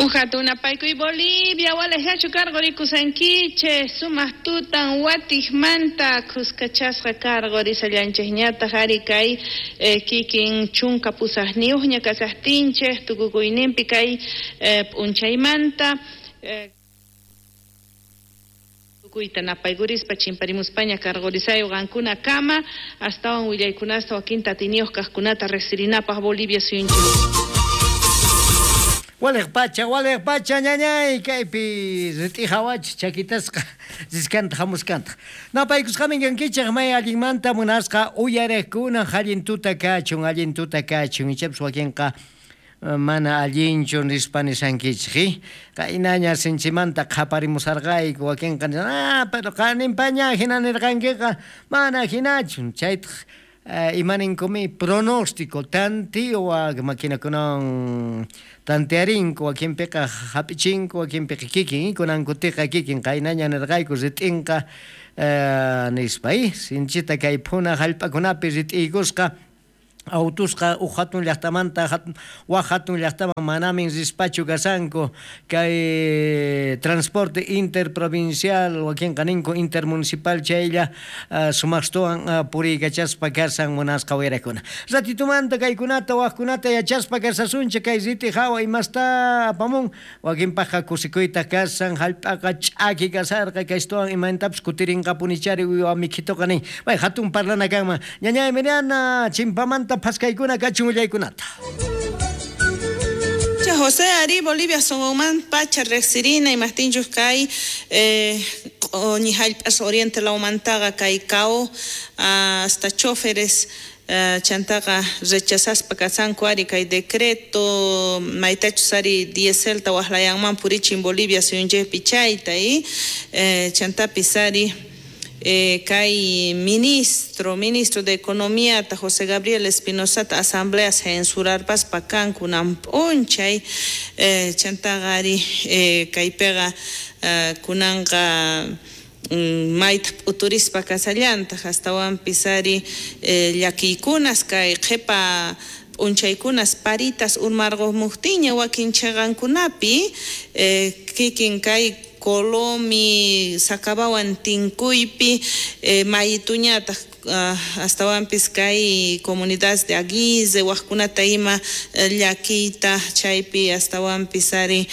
Uj hatun napaykuy Bolivia, walejachu karqurikusankichej, sumaq tutan watiqmanta khuskachasqa karqurisallanchikñataq ari kay kikin 18niyuqña kasaqtinchej tukukuyninpi kay p'unchaymanta tukuyta napaykurispa chimparimuspaña karqurisayo qankuna kama astawan willaykunasta wakinta atiniyuq kaqkunata riqsirinapaq Bolivia suyunchik. Waliq pacha ñañay kaypi rit'ijawach chakitasqa riskanta hamuskanta. Napaykusqamin kankichej may allinmanta munasqa uyariqkuna allin tuta kachun, allin tuta kachun. Ichapas wakinqa mana allinchu nispa nisankichej, qaynaña sinchimanta qhaparimusarqayku wakinqa pero qaninpaña hina nirqankiqa mana hinachu chaytaq imaninkomi pronóstico tantiwa maquinakunawan tantearinku wakinpiqa hap'ichinku wakinpiqa kikin kunankutiqa kikin qaynaña nirqayku rit'inqa nispa sinchita kay phuna hallp'akunapi rit'iykusqa autusqa uj hatun llaqtamanta waj hatun llaqtaman manamin rispachu kasanku kay transporte interprovincial wakinqa ninku intermunicipal chaylla sumaqstuwan puriykachaspa kasan munasqa wayrakuna. Ratitumanta kaykunata wajkunata yachaspa kasasunchik kay riti hawa imasta apamun wakinpaqqa kusikuyta kasan hallp'aqa ch'aki kasarqa kaystuwan imantapis kutirinqapunichari uywa mikhituqa nin. Bay hatun parlana kanman ñañay Miriana chimpamanta phaskaykuna kachun willaykunata. José Ari Bolivia songoman pacha riqsirina imaqtinchus kay q'uñi hallp'as oriente lawmantaqa kay cao hasta choferes chantaqa rechazaspa kasanku ari kay decreto maytachus ari dieselta waqlayanman purichin Bolivia suyunchikpi chayta chantapis ari kay ministro de Economía ta José Gabriel Espinosa ta asamblea censurarpaspa kanku nan p'unchay chantaqa ari kaypiqa kunanqa mayta p'uturispa kasallantaq astawanpis ari llakiykunas kay qhipa p'unchaykunas paritas urmarqumuqtiña wakin chhiqankunapi kikin kay Colomi Sacabawan tinkuypi mayituñataq astawanpis kay comunidad de Aguise wajkunata ima llakiyta chaypi astawanpis ari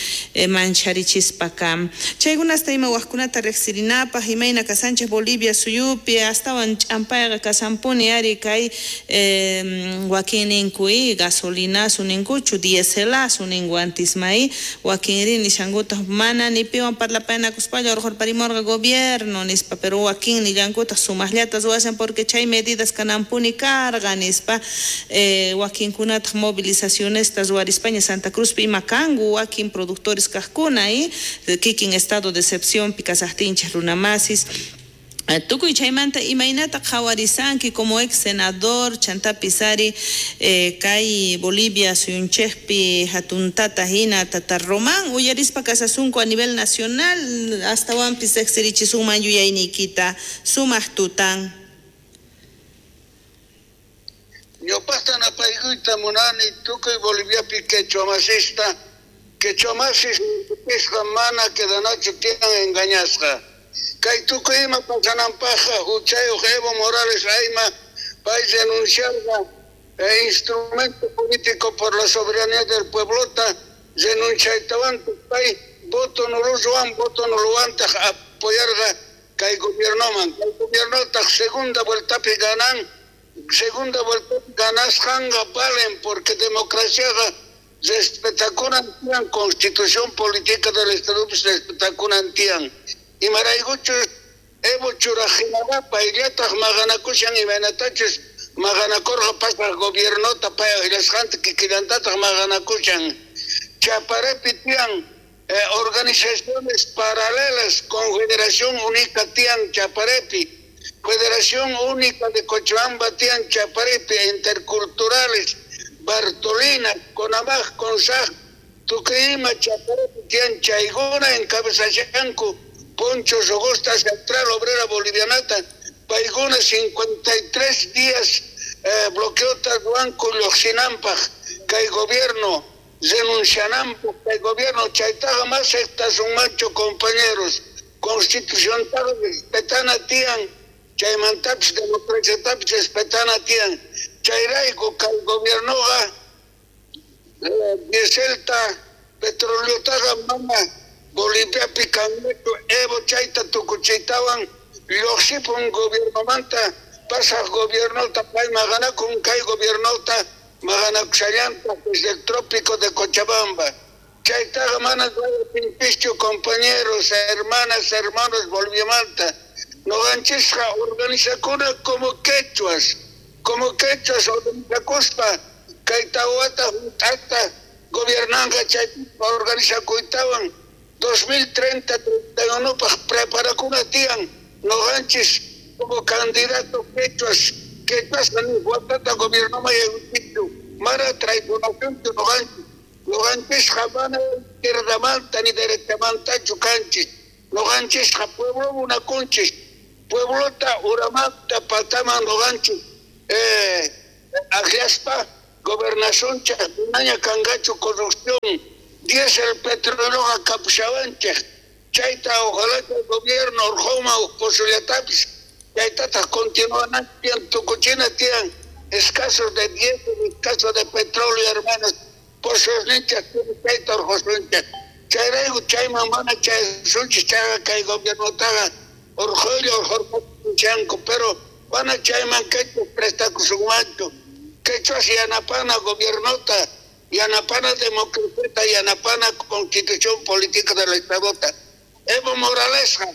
mancharichispa kan. Chaykunasta ima wajkunata riqsirinapaq imayna kasanchik Bolivia suyupi astawan ch'ampayqa kasanpuni ari kay wakin ninku gasolinasu ninkuchu dieselasu ninku antismay wakinri nishankutaq mana ni piwan parlapaynakuspalla urqurparimurqa gobierno nispa pero wakin nillankutaq sumaqllata ruwashan porque chay medidas kanampuni karqa nispa wakinkunataq movilizacionesta ruwarispaña Santa Cruzpi ima kanku wakin productores kaqkuna kikin estado de excepción kasaqtinchik runamasis. Tukuy chaymanta imaynata qhawarisanki como ex senador chantapis ari kay Bolivia suyunchikpi hatuntata hina tata Román uyarispa kasasunku a nivel nacional astawanpis riqsirichisunman yuyayniykita sumaq tutan. Ñawpaqta napaykuyta munani tukuy Boliviapi quechuamasista quechuamasis nisqa mana quedanachu tiyan engañasqa. Kay tukuy ima pasananpaqqa huchayuq Evo Morales ayma pay renunciarqa instrumento político por la soberanía del pueblota renunciaytawantaj pay voto nuruwan voto nuluwantaq apoyarqa kay gobiernoman kay gobiernotaq segunda vueltapi ganan segunda vuelta ganasqanqa valen porque democraciaqa respetakunan tiyan constitución política del Estado respetakunan tiyan. Imaraykuchus Evo churajinaqa payllataq maqanakushan imaynatachus maqanakurqa pasaq gobiernota pay aqllasqanta kikillantataq maqanakushan. Chaparepi tiyan organizaciones paralelas, Confederación Única tiyan Chaparepi, Federación Única de Cochabamba tiyan Chaparepi, interculturales, Bartolina, Conamaj, Consaj, Tucuyima, Chaparepi tiyan chaykuna encabezashanku Poncho Rogosta, Central Obrera Bolivianata, paykuna 53 días bloqueota ruwanku lluqsinampaq kay gobierno Renunciananpaj kay gobierno chaytaqa mas aceptasunmanchu compañeros. Constituciontaqa respetana tiyan, chaymantapis democraciatapis respetana tiyan. Chayrayku kay gobiernoqa dieselta, petroleotaqa mana Boliviapi kanñachu. Evo chayta tukuchiytawan lluqsipun gobiernomanta, pasaq gobiernota pay maqanakun, kay gobiernota maqanakushallantaq desde el trópico de Cochabamba. Chaytaqa mana ruwatinpischu, compañeros, hermanas, hermanos Boliviamanta. Noqanchisqa organizakuna como quechuas organizakuspa kay tawata hunt'ata gobiernanqa chaypipa organizakuytawan 2030 31paj preparakuna tiyan noqanchis como candidato quechuas ni watata gobiernoman yaykuchichu mana traicionasunchu noqanchis. Noqanchisqa mana izquierdamanta ni derechamantachu kanchis. Noqanchisqa pueblo munakunchis. Pueblota uramanta pataman noqanchis akllaspa gobernacionchej manaña kanqachu corrupción, diésel, petroleoqa kapushawanchej. Chayta ojalá chay gobierno urqhuma uj posollatapis chaytataq continuanan tiyan tukuchina tiyan escasos de diésel, escasos de petróleo, hermanos, pozosninchej chayta urqhusunchej. Chayrayku chayman mana chayasunchis chayqa kay gobiernotaqa urqhuylla urqhurqapunchanku, pero mana chayman quechuas prestakusunmanchu. Quechuas yanapana gobiernota, yanapana democraciata, yanapana constitución política del Estadota. Evo Moralesqa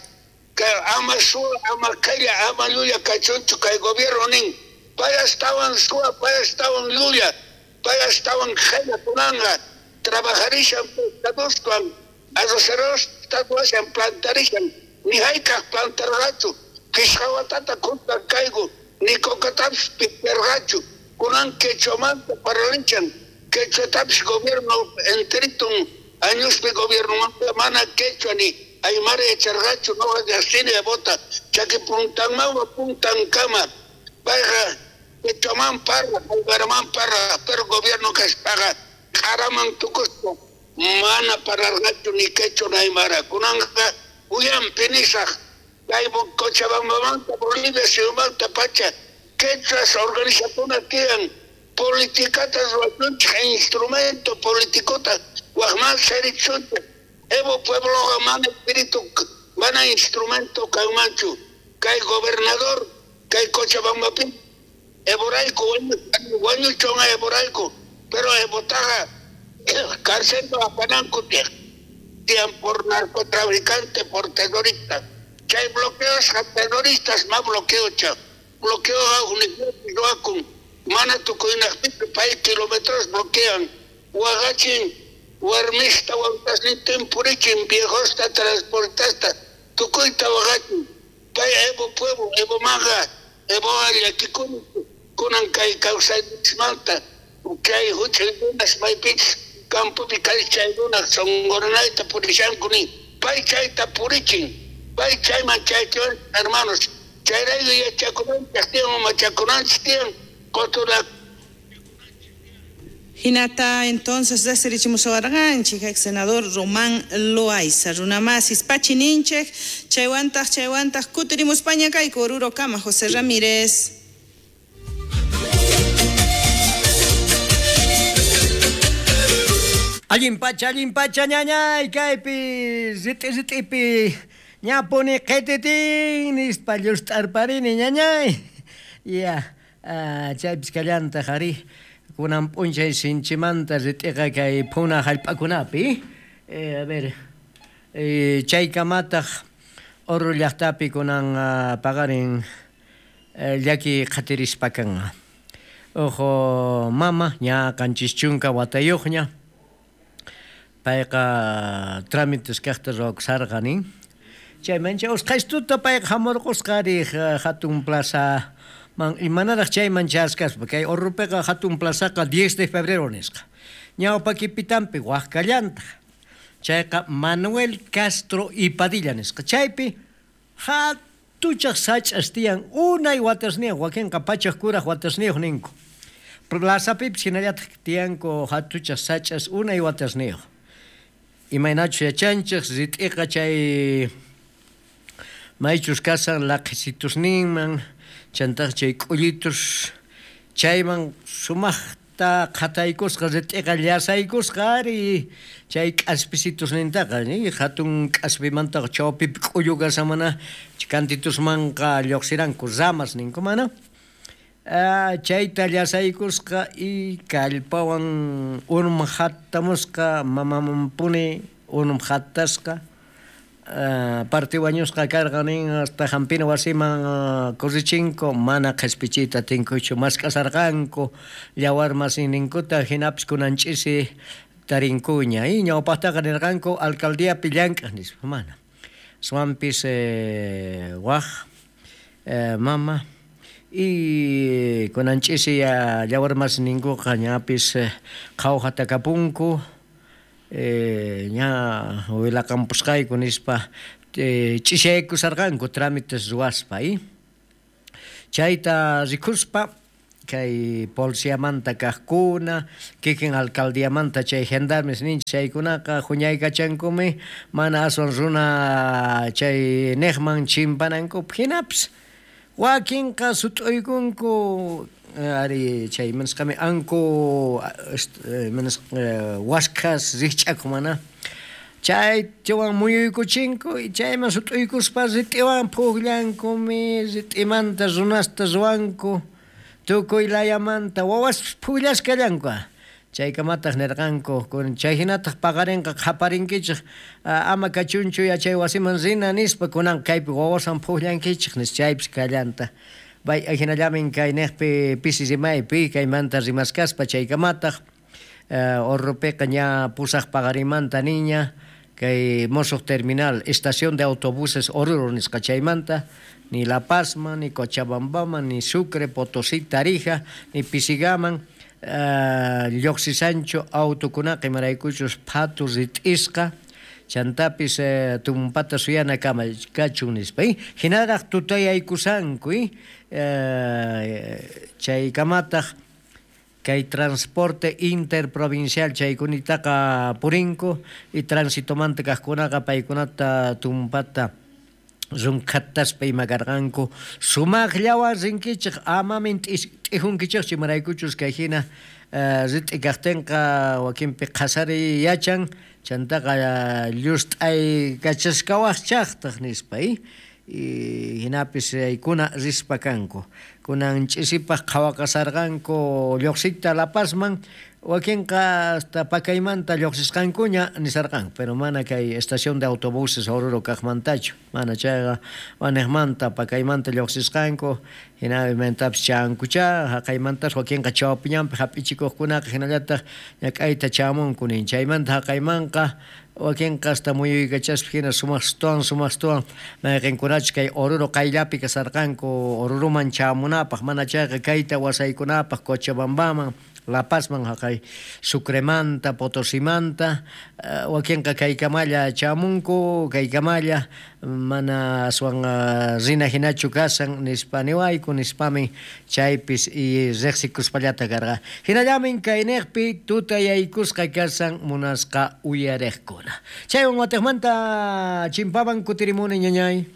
que ama suwa, ama qhella, ama llulla kachunchu kay gobierno nin. Pay astawan suwa, pay astawan llulla, pay astawan qhella kunanqa. Trabajarishan pescadoswan, arrocerosta ruwashan, plantarishan, ni hayk'aq plantarqachu. Phishqa watata khuntan kayku, ni cocatapis piperqachu. Kunan quechuamanta parlanchan, quechuatapis gobierno enteritun añospi gobiernomanta mana quechua ni aymara yacharqachu, noqa llaqsini Evota, chaki puntanmawa puntankama. Payqa quechuaman parla, aymaraman parla, pero gobierno kaspaqa q'araman tukuspa mana parlarqachu ni quechua ni aymara. Kunanqa uyanpi nisaq kay Cochabambamanta Bolivia suyumanta pacha quechuas organizakuna tiyan politikata ruwasunchej, instrumento politikota wajman serichunchej. Evo puebloqa mana espíritu, mana instrumento kanmanchu. Kay gobernador, kay Cochabambapi Evorayku wañuchun Evorayku, pero Evotaqa cárcel apananku tiyan por narcotraficante, por terrorista. Chay bloqueosqa terroristas ma bloqueocha. Bloqueo ruwakun mana tukuynaqpichu pay kilómetros bloquean. Waqachin warmista wawtasnintin purichin viejosta transportasta tukuyta waqachin. Pay Evo pueblo, Evo maqa, Evo llakikuni kunan kay kawsayninchikmanta chay huch'uy runas maypichus campopi kay chay runas sonqoranayta purishanku nin. Pay chayta purichin, pay chayman chaychiwan hermanos. Chayrayku yachakunanchik tiyan, machakunanchik tiyan, qotura. Hinata entonces reserichimusawarqanchik ex senador Román Loaiza, runamasis pachininchik, chaywantaq chaywantaq kutirimuspaña kayku Oruro kama José Ramírez. Allin pacha ñañay kaypi rit'i rit'ipi ñapuni qhititin nispa llust'arparini ñañay. Ya, chaypis kallantaq ari kunan p'unchay sinchimanta rit'iqa kay phuna hallp'akunapi. A ver, chaykamataq Oruro llaqtapi kunan paqarin llaki qhatirispa kanqa. Ojo mama ña 70 watayuqña. Payqa trámites kaqta ruwakusarqa nin. Chayman chay usqhaystuta payqa hamurqusqa riq hatun plaza man imanaraq chayman chaskaspa kay Oruropiqa hatun plazaqa 10 de febrero nisqa. Ñawpakipitanpi waqkallantaq. Chayqa Manuel Castro y Padilla nisqa. Chaypi hatuchaq sach'as tiyan unay watasniyuq wakinqa pachaq kuraq watasniyuq ninku. Plazapipis hinallataq tiyanku hatuchaq sach'as unay watasniyuq. Imaynachus yachanchik rit'iqa chay maychus kasan laqhisitusninman chantaq chay k'ullitus chayman sumaqta qhataykusqa rit'iqa llasaykusqa ari chay k'aspisitusnintaqa hatun k'aspimantaqa chawpipi k'ullu kashan mana kantitusmanqa lluqsiranku ramas ninku mana chayta llasaykusqa y kallpawan unum hatamusqa mamamanpuni unum hatasqa parte wañusqa karqa nin hasta hampina wasiman corrichinku mana qhispichiyta atinkuchu mask'asarqanku yawar masinninkuta hinapis kunan ch'isi tarinkuña y ñawpaqtaqa nirqanku alcaldiapi llank'aq nispa mana aswanpis waq mama y kunan ch'isi yawar masinninkuqa ñapis qhawjata kapunku ña willaqampusqayku nispa ch'isiyaykusarqanku trámites ruwaspa chayta rikuspa kay policiamanta kaqkuna kikin alcaldiamanta chay gendarmes ninchik chaykunaqa huñaykachankumi mana aswan runa chay niqman chimpanankupaq hinapis wakinqa sut'uykunku ari chay manisqami anku waskhas rikch'akuq mana chaywan muyuykuchinku y chayman sut'uykuspa rit'iwan pukllankumi rit'imanta runasta ruwanku tukuy layamanta wawaspis pukllasqallanku chaykamataq nirqanku chay hinataq paqarinqa qhaparinkichik ama kachunchu yachay wasiman rina nispa kunan kaypi wawaswan pukllankichik nispa chaypis kallanta bay hinallamin kay niqpi pisi rimaypi kaymanta rimaskaspa chaykamataq Oruropiqa ña pusaq paqarimanta niña kay musuq terminal estación de autobuses Oruro nisqa chaymanta ni La Pazman ni Cochabambaman ni Sucre, Potosí, Tarija ni Pisigaman lluqsisanchu autukunaqa imaraykuchus phatu rit'isqa chantapis tumpata suyana kama kachun nispa hinaraq tutayaykusanku chaykamataq kay transporte interprovincial chaykunitaqa purinku y transitomanta kaqkunaqa paykunata tumpata runkhataspa ima karqanku sumaqllawan rinkichik amamin t'ijunkichikchu imaraykuchus kay hina rit'i kaqtinqa wakinpi qhasariy yachan chantaqa llust'aykachashkawaqchaqtaq nispa hinapis chaykuna rispa kanku kunan ch'isipaq qhawaqasarqanku lluqsiyta La Pazman wakinqa hasta pakaymanta lluqsisqankuña nisarqanku pero mana kay estación de autobuses Oruro kaqmantachu mana chayqa waniqmanta pakaymanta lluqsisqanku hinamantapis chankuchá haqaymantas wakinqa chawpiñanpi hap'ichikuqkunaqa hinallataq ñak'ayta chamunku nin chaymanta haqaymanqa wakinqa hasta muyuykachaspa hina sumaqstuwan mayqinkunachus kay Oruro qayllapi kasarqanku Oruroman chamunapaq mana chayqa kayta wasaykunapaq Cochabambaman La Pazman haqay Sucremanta Potosimanta wakinqa kaykamalla chamunku kaykamalla mana aswan rina hinachu kasan nispa niwayku nispami chaypis y riqsikuspallata karqa hinallamin kayniqpi tutayaykusqa kasan munasqa uyariqkuna chaywan watiqmanta chimpaman kutirimuni ñañay.